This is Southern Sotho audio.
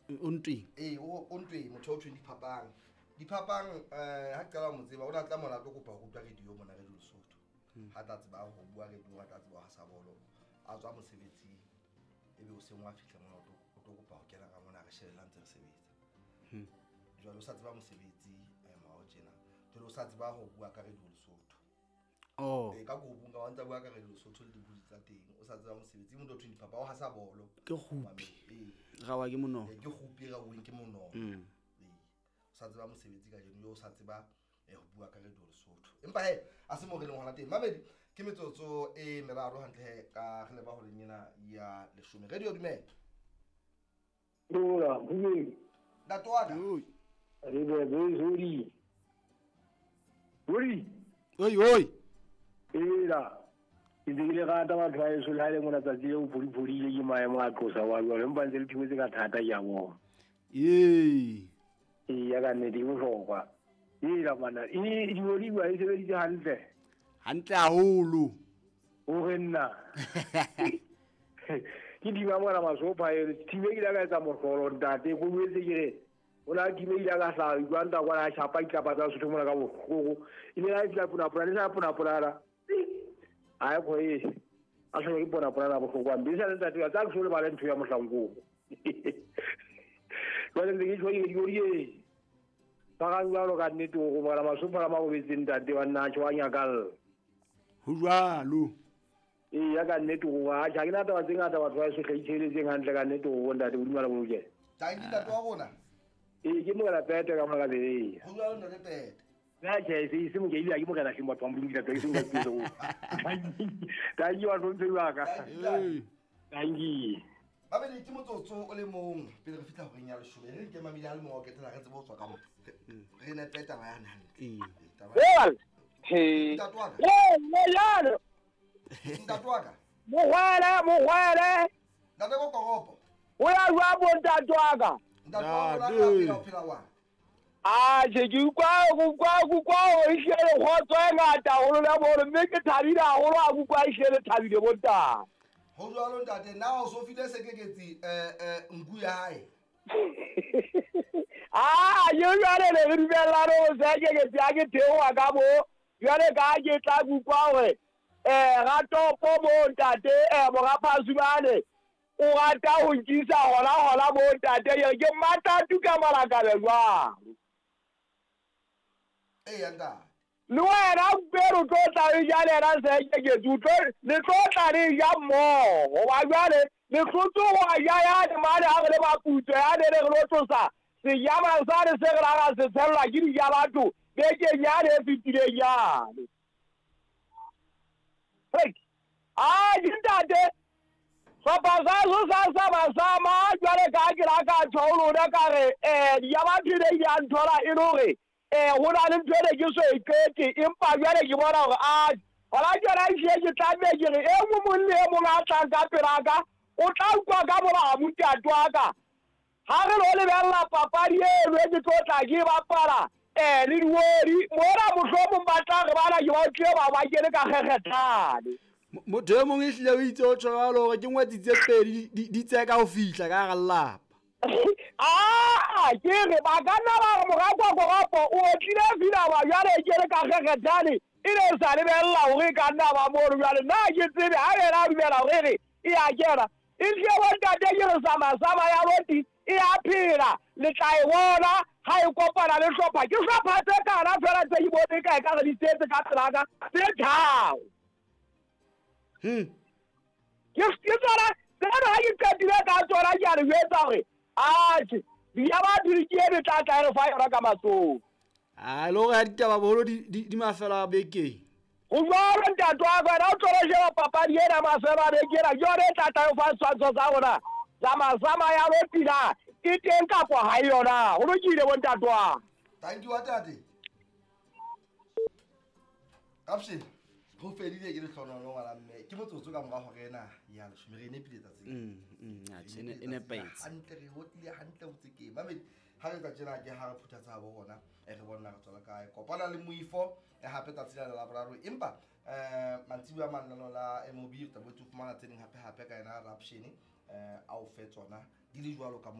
O ntweng? Ee, o ntweng, motho o thweng Diphapang. Diphapang, ha ke qala ho mo tseba, o ne a tla mona a tlo kopa ho rutwa radio mona, Radio Lesotho. Ha tla tseba ho bua radio, ha tla tseba ho hasa bolo, a tswa mosebetsing, ebe o seng wa fihla mona, o tlo kopa ho kena ka mona, re shebella ntse re sebetsa. Jwale o sa tseba mosebetsi, morao tjena. Jwale o sa tseba ho bua ka Radio Lesotho. Oh. Ee, ka group nka wa ntsa bua ka Radio Lesotho le dibudi tsa teng. O sa tseba mosebetsi, motho o thweng Diphapang, o hasa bolo. Ke kgupi. Ee. Rawa ke monono. Ee, ke kgupi, raweng ke monono. Ee. O sa tseba mosebetsi kajeno, yo o sa tseba ho bua ka Radio Lesotho. Empa he, a se mo re leng hona teng. Mamedi, ke metsotso e meraro hantle he ka re leba horeng ena ya 10. Radio dumela. Dula, bobedi. Ntate wa ka. Oi. Re be be zori. Ori. Oi, oi. Ela. Ke ntse ke le rata batho ba heso, le ha e le mona tsatsi leo phodiphodile ke maemo a qosa wa jwalo, empa ntse le thibetse ka thata ke a bona. Ee. Ee, ya ka nnete ke bohlokwa. Ela mana, e diodiwa e sebeditse hantle. Hantle haholo. O re nna. Ke dima mona masopha e, thibe ke ile ka etsa mohlolo ntate, ko boetse ke re o na thibe ile ka hlaha jwang ta kwana shapa ditlapa tsa Sotho mona ka bohloko. E ne la fihla pona-pona, le sa pona-pona la. A e kgo e. A hlolwa ke pona-pona la bohloko hampe. E sa le ntate wa tsa ke so lebale ntho ya mohlankong. Jwale ntse ke tjho ke di e. Ba ga jwalo ka nnete o go bona masopha la mabobetseng ntate wa nna tjho wa nyakalla. Ho jwalo. Ee, ya ka nnete go ba ha ke na taba tse ngata batho ba sohle itšheletseng hantle ka nnete go ntate Modimo a le bolokele. Thank you ntate wa rona. Ee, ke morena Pete ka mona ka Berea. Ho jwalo ntate Pete. Nna tjhe, se mo ke ile ke morena hleng batho ba Modimo ke tla ke se nka tse go. Thank you batho ntse ba ka. Thank you. Babedi ke motsotso o le mong pele re fihla horeng ya 10. Re nke mamedi a le mong wa ketela re tsebe ho tswa ka mo. Re nepe taba ya hantle. Ee. Taba. Well, he. Ntate wa ka. Ee, jalo. Ntate wa ka. Mogwele, mogwele. Ntate ko koropo. O ya jwang bo ntate wa ka? Ntate wa rona, Ntate. re a phela, o phela wa? A, tjhe, ke utlwa, ke utlwa, ke utlwa hore ehlile le kgotso e ngata haholo le bolo, mme ke thabile haholo ha ke utlwa ehlile le thabile bo ntate. Ho jwalo ntate, na o so file sekeketsi, nku ya hae? Ah, ke jwale ne re dumellane ho sekeketsi ha ke theoha ka mo, jwale ka ha ke tla ke utlwa hore, ratopo mo ntate, mora Phasumane, o rata ho nkisa hona hona mo ntate, ke re ke matatu ka malakabe jwalo. Ee, ntate. Le wena Mperu o tlo tla e ja le yena sekeketsi, le tlo tla le ja mmoho, hoba jwale le hlotse ho a ja yane mane ha re le maputso yane ne re lo tlosa sejama sane se re la ra se tshellwa ke dija batho bekeng yane e fetileng yane. Hei, a ke ntate, hlopha sa so sa sama-sama, jwale ka ke la ka tjho ho lona ka re, dija batho e ne di a nthola e le hore, ho na le ntho e ne ke so e qete, empa jwale ke bona hore, a, hona tjena ehlile ke tlameha ke re, e mong le e mong a tlang ka pela ka, o tla utlwa ka molamu ntate wa ka. Ha re lo lebella papadi eno e ke tlo tla ke e bapala, le diwodi, mona mohlomong ba tla re bana ke ba utlwile ba ba kene ka kgekgethane. Motho e mong ehlile o itse o tjho jwalo hore ke ngwetsi tse pedi di tseka ho fihla ka hara lelapa. Ah, ke re ba ka nna ba re mora kwa koropo o otlile filaba jwale ke le ka kgekgethane, e ne e sa lebella hore e ka nna ba mono jwale. Nna ha ke tsebe ha yena a dumela hore re e a kena. E hlile bo ntate ke re sama-sama ya loti e a phela, le tla e bona ha e kopana le hlopha. Ke hlopha tse kana fela tse ke bone ka e ka re di setse ka pela ka, tse tharo. Ke tsona, tsena ha ke qetile ka tsona ke a le jwetsa hore, atjhe, ya batho di ke e tla tla re fa yona ka matsoho. A le hore ha ditaba boholo di mafelo a bekeng. Ho jwalo ntate wa ka, wena o tlo sheba papadi ena mafelo a beke ena, ke yona e tla tla o fa setshwantsho sa rona. Sama-sama ya lopina e teng kapa ha e yona. Ho lokile bo ntate wa. Thank you ntate. Kapshe, ho fedile ke lehlohonolo ngwana mme. Ke motsotso ka mora hora ena ya leshome, re e nepile tsatsing. Atjhe, Re e nepile nepahetse. Hantle, re otlile hantle ho tsekeng. Mamedi, ha re tla tjena ke ha re phutha tsa bo rona, re bona re tswela kae. Kopana le moifo, hape tsatsi la Laboraro. Empa, mantsibuya a mang lano la MOB, re tla boetse ho fumana tse ding hape hape ka yena Rapshene, a o fe tsona di le jwalo ka moo.